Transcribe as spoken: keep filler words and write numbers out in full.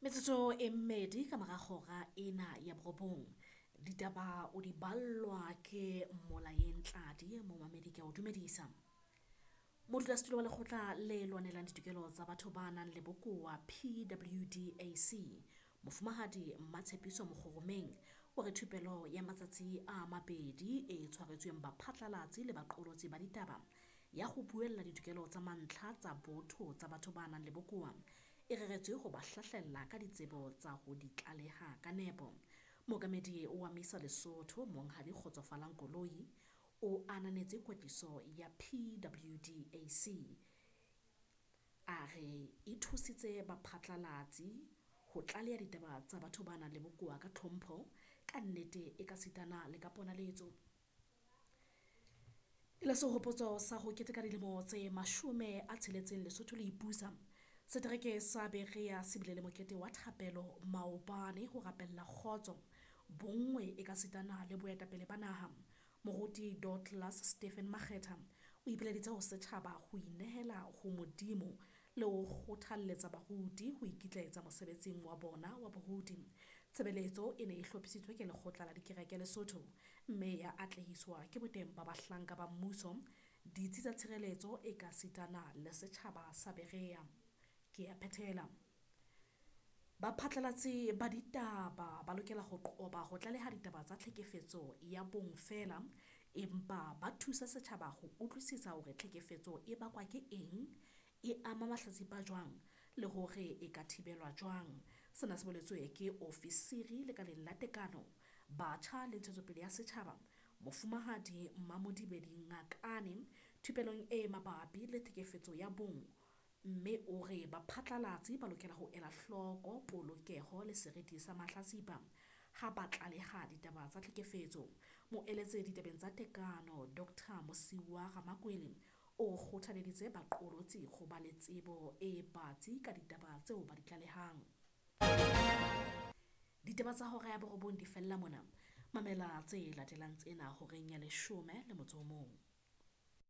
Metsotso e mmedi ka mora hora ena ya borobong. Ditaba o di ballwa ke Molaeng Tladi, momamedi ke a o dumedisa. Modulasetulo wa lekgotla le lwanelang ditokelo tsa batho ba nang le bokowa P W D A C, Mofumahadi Mmatshepiso Mokgoromeng o re thupelo ya matsatsi a mabedi e tshwaretsweng baphatlalatsi le baqolotsi ba ditaba ya ho buella ditokelo tsa mantlha tsa botho tsa batho ba nang le bokowa e reretswe ho ba hlahlella ka ditsebo tsa ho di tlaleha ka nepo. Mookamedi wa Misa Lesotho Monghadi Kgotsofalang Koloi o ananetse kwetliso ya P W D A C, a re e thusitse baphatlalatsi ho tlaleha ditaba tsa batho ba nang le bokowa ka tlhompho, ka nnete e ka sitana le ka ponaletso. E le sehopotso sa ho keteka dilemo tse mashome a tsheletseng Lesotho le ipusa, setereke sa Berea se bile le mokete wa thapelo maobane ho rapella kgotso, bonngwe e ka sitana le boetapele ba naha. Moruti Douglas Stephen Makgetha o ipileditse ho setjhaba ho inehela ho Modimo le ho kgothalletsa baruti ho ikitlaetsa mosebetsing wa bona wa boruti. Tshebeletso e ne e hlophisitswe ke Lekgotla la Dikereke Lesotho mme ya atlehiswa ke boteng ba bahlanka ba mmuso, ditsi tsa tshireletso e ka sitana le setjhaba sa Berea. Ke a phethela. Baphatlalatsi ba ditaba ba lokela ho qoba ho tlaleha ditaba tsa tlhekefetso ya bong feela, empa ba thusa setjhaba ho utlwisisa hore tlhekefetso e bakwa ke eng, e ama mahlatsipa jwang le hore e ka thibelwa jwang. Sena se boletswe ke ofisiri lekaleng la tekano, batjha le ntshetsopele ya setjhaba, Mofumahadi Mamodibedi Ngakane thupelong e mabapi le tlhekefetso ya bong, mme o re baphatlalatsi ba lokela ho ela hloko polokeho le seriti sa mahlatsipa ha ba tlaleha ditaba tsa tlhekefetso. Moeletsi ditabeng tsa tekano Doctor Mosiuwa Ramakwele o kgothaleditse baqolotsi ho ba le tsebo e batsi ka ditaba tseo ba di tlalehang. Ditaba tsa hora ya borobong di fella mona. Mamela tse latelang tsena horeng ya leshome le motso o mong.